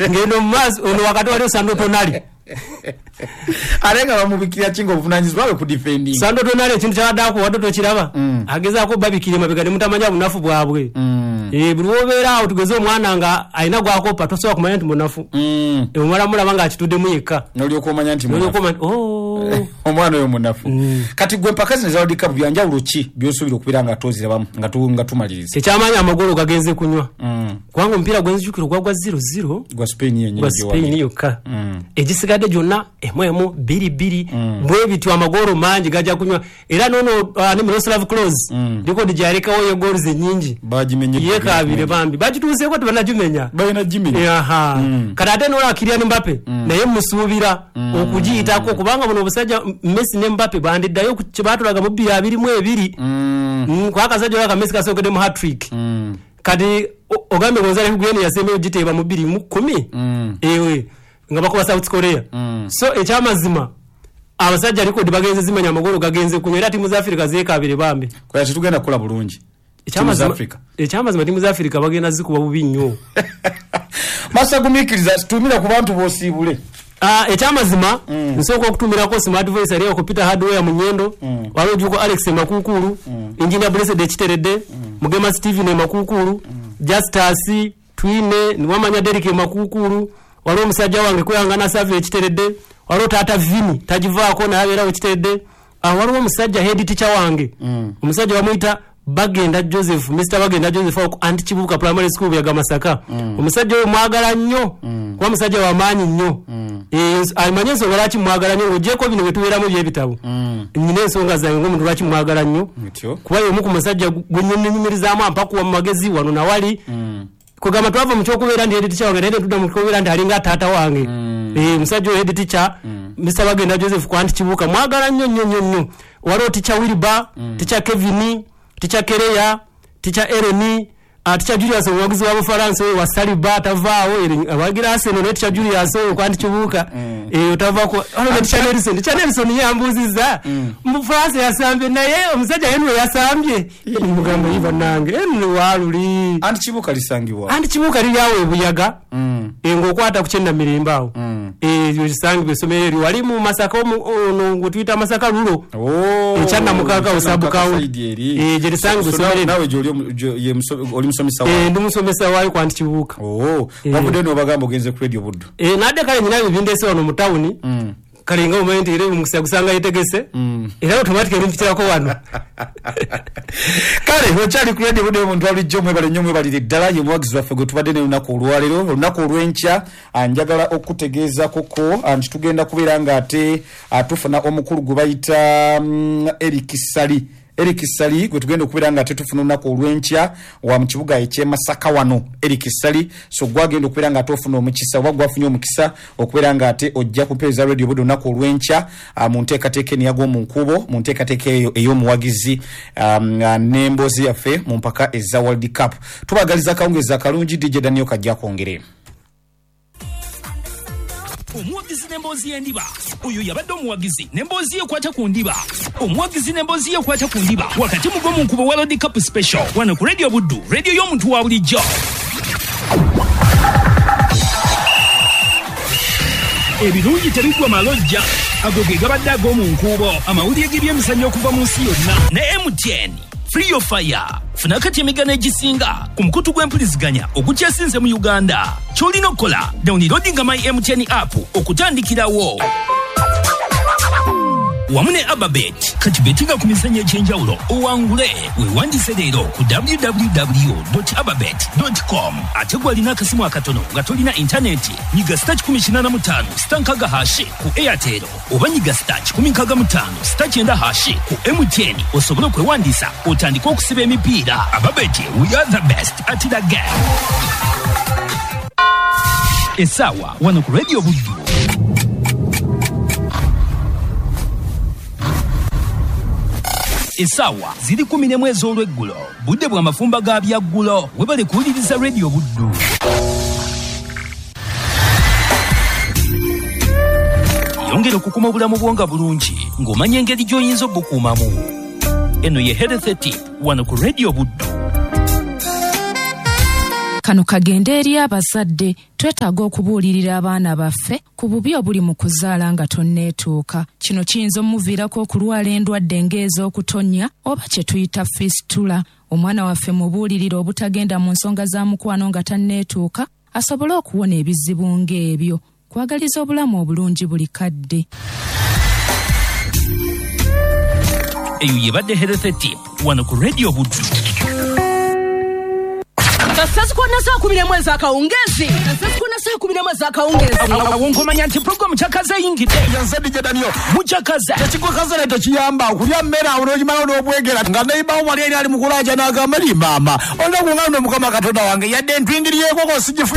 Ngeno mu maaso ono wakati waliwo Sandro Tonali. Ate nga bamubikira ki ng'obuvunaanyizibwa bwe ku defending? Sandro Tonali ekintu ky'abadde akuwadde tokiraba. Agezaako obbabikira emabega ne mutamanya bunafu bwabwe. Buli w'obeera awo tugeze omwana nga alina gw'akoppa tosobola kumanya nti munafu. Omala mulaba ng'akituddemu yekka. N'olyoka omanya nti munafu. N'olyoka omanya nti, oh. Omwana oyo munafu. Kati gwe empaka zino eza World Cup bya njawulo ki by'osuubira okubeera nga tozirabamu nga tumaliriza? Ekyamaanyi amagolo gagenze kunywa. Kubanga omupiira gwe nzijukira ogwa gwa 0-0. Gwa Spain yennyini Gwa Spain yokka. Egisigadde gyonna emu emu, bbiri bbiri. Bwe bityo amagolo mangi gajja kunywa. Era n'ono, ne Miroslav Klose, likodi gy'alekawo ye goals ennyingi. Bagimenye Yeekaabire bambi. Bagituuseeko tebannagimenya. Balina gimenya. Aha. Kati ate n'olaba Kylian Mbappe, naye mmusuubira okugiyitako kubanga buno obusajja Messi ne Mbappe bandiddayo ku kye baatulaga mu bbiri abiri mu ebiri. Kuba akasajja olaba ka Messi kasookedde mu hat-trick. Kati ogambye Gonzalo Higuain yasembeyo giteeba mu bbiri mu kkumi? Ewe, nga bakuba South Korea. So ekyamazima abasajja likodi bagenze zimenya, amagolo gagenze kunywa era ttiimu za Africa zeekaabire bambi. Kwera tetugenda kukola bulungi. Ttiimu za Africa. Ekyamazima ttiimu za Africa bagenda zikuba bubi nnyo. Masa gumiikiriza, tumira ku bantu b'osiibule. Ekyamazima, nsooka okutumirako Smart Voice ali ku Peter Hardware mu Nyendo, waliwo Juko Alex Makuukulu, Engineer Blessed Ekiteredde, Mugema Steven Makuukulu, Justus Twine, Niwamanya Derrick Makuukulu, waliwo omusajja wange Kwehangana Save Ekiteredde, waliwo Taata Vini tagivaako naye abeerawo Ekiteredde. Waliwo omusajja head teacher wange, omusajja bamuyita Bagenda Joseph, Mr Bagenda Joseph awo ku Anti Kibuuka Primary School Buyaga Masaka. Omusajja oyo mwagala nnyo, kuba musajja wa maanyi nnyo. Amanyi ensonga lwaki mwagala nnyo, ng'oggyeeko bino bye tubeeramu eby'ebitabo. Nnina ensonga zange ng'omuntu lwaki mwagala nnyo. Kuba y'omu ku musajja gwe nnyinyumirizaamu ampakuwa mu magezi wano na wali. Kugamba twava mu ky'okubeera nti head teacher wange naye ne tudda mu ky'okubeera nti alinga taata wange. Omusajja oyo head teacher, Mr Bagenda Joseph ku Anti Kibuuka mwagala nnyo nnyo nnyo nnyo. Waliwo teacher Wilbur, teacher Kevin, teacher Kereya, teacher Ellen, teacher Julius omuwagizi wa Bufalansa oyo wa Saliba tavaawo, awagira Arsenal naye teacher Julius oyo ku Anti Kibuuka, otavaako. Waliwo ne teacher Nelson, teacher Nelson ye yambuuzizza, mu Bufalansa yasambye naye omusajja Henry yasambye. Mugamba ye bannange, Henry waaluli. Anti Kibuuka lisangibwa? Anti Kibuuka liri awo e Buyaga, ng'okwata ku Kyennamirembe awo. Lisangibwa essomero eryo wali mu Masaka ono gwe tuyita Masaka Lulo. Ekyannamukaaga awo sub county. Gye lisangibwa essomero eryo. Naawe gy'oli ye oli musomesa waayo? Ndi musomesa waayo ku Anti Kibuuka. Wavuddeyo n'obagamba ogenze ku Radio Buddu? Nadde kale nnina ebindeese wano mu tawuni. Kale nga omanyi nti era omukisa gusanga yetegese. Era automatically mpitirako wano. Kale okyali ku Radio Buddu omuntu alijjo mwebale nnyo mwebalire ddala ye muwagizi waffe gwe tubadde naye olunaku olwaleero. Olunaku olw'enkya, njagala okutegeezaako ko, nti tugenda kubeera ng'ate, tufuna omukulu gwe bayita, Eric Ssali. Eric Ssali gwe tugenda okubeera nga tetufuna olunaku olw'enkya wa mu kibuga eky'e Masaka wano. Eric Ssali, so gwagenda okubeera nga ate ofuna omukisa oba gwafunye omukisa okubeera nga ate ojja kupeereza Radio Buddu olunaku olw'enkya, mu nteekateeka eno eyagwa mu nkuubo, mu nteekateeka eyo ey'omuwagizi, n'emboozi yaffe mu mpaka eza World Cup. Tubaagaliza akawungeezi akalungi. DJ Daniel Kajja akwongere. Omuwagizi n'emboozi y'endiba. Oyo yabadde omuwagizi n'emboozi ye ekwata ku ndiba. Omuwagizi n'emboozi ye ekwata ku ndiba wakati mu gwo mu nkubo World Cup Special wano ku Radio Buddu, radio y'omuntu wa bulijjo. Ebirungi tebiggwa malojja, ago ge gabadde ag'omu nkuubo. Amawulire g'ebyemizannyo okuva mu nsi yonna ne MTN. Free your fire. Funa kati emigano egisinga ku mukutu gw'empuliziganya ogukyasinze mu Uganda. Ky'olina okukola, downloadinga My MTN app okutandikirawo. Wamu ne Ababet, kati betinga ku mizannyo egy'enjawulo owangule. Weewandiise leero ku w w w dot ababet dot com. Ate gwe alina akasimu akatono nga tolina intaneti, nyiga star kikumi kinaana mu ttaano star nkaaga hashi ku Airtel oba nyiga star kikumi nkaaga mu ttaano star kyenda hashi ku MTN osobole okwewandiisa otandike okusiba emipiira. Ababet, we are the best at the game. Essaawa wano ku Radio Buddu. Essaawa ziri kumi n'emu ez'olweggulo, budde bwa mafumba ga byaggulo. Webale kuwuliriza Radio Buddu. Yongera okukuma obulamu bwo nga bulungi ng'omanya engeri gy'oyinza obukuumamu. Eno ye Health Tip wano ku Radio Buddu. Kano kagende eri abazadde. Twetaaga okubuulirira abaana baffe ku bubi obuli mu kuzaala nga tonneetuuka. Kino kiyinza omuviirako okulwala endwadde ng'ez'okutonnya oba kye tuyita fistula. Omwana waffe mubuulirire obutagenda mu nsonga za mukwano nga tanneetuuka, asobole okuwona ebizibu ng'ebyo. Kwagaliza obulamu obulungi buli kadde. Eyo yebadde Health Tip wano ku Radio Buddu. Kasasukona saa 11 ez'akawungeezi. Kasasukona saa 11 ez'akawungeezi. Awo nkomanya nti pulogulaamu Kyakaze eyingidde. Nze DJ Daniel. Mukyakaze. Tekikukaze naye tekiyamba okulya mmere awo n'ogimalawo n'obwegera nga neibawo wali eri ali mu kulaaja n'agamba li maama olina kungamba Mukama Katonda wange yadde ntwingiriyeekoko sigifunye.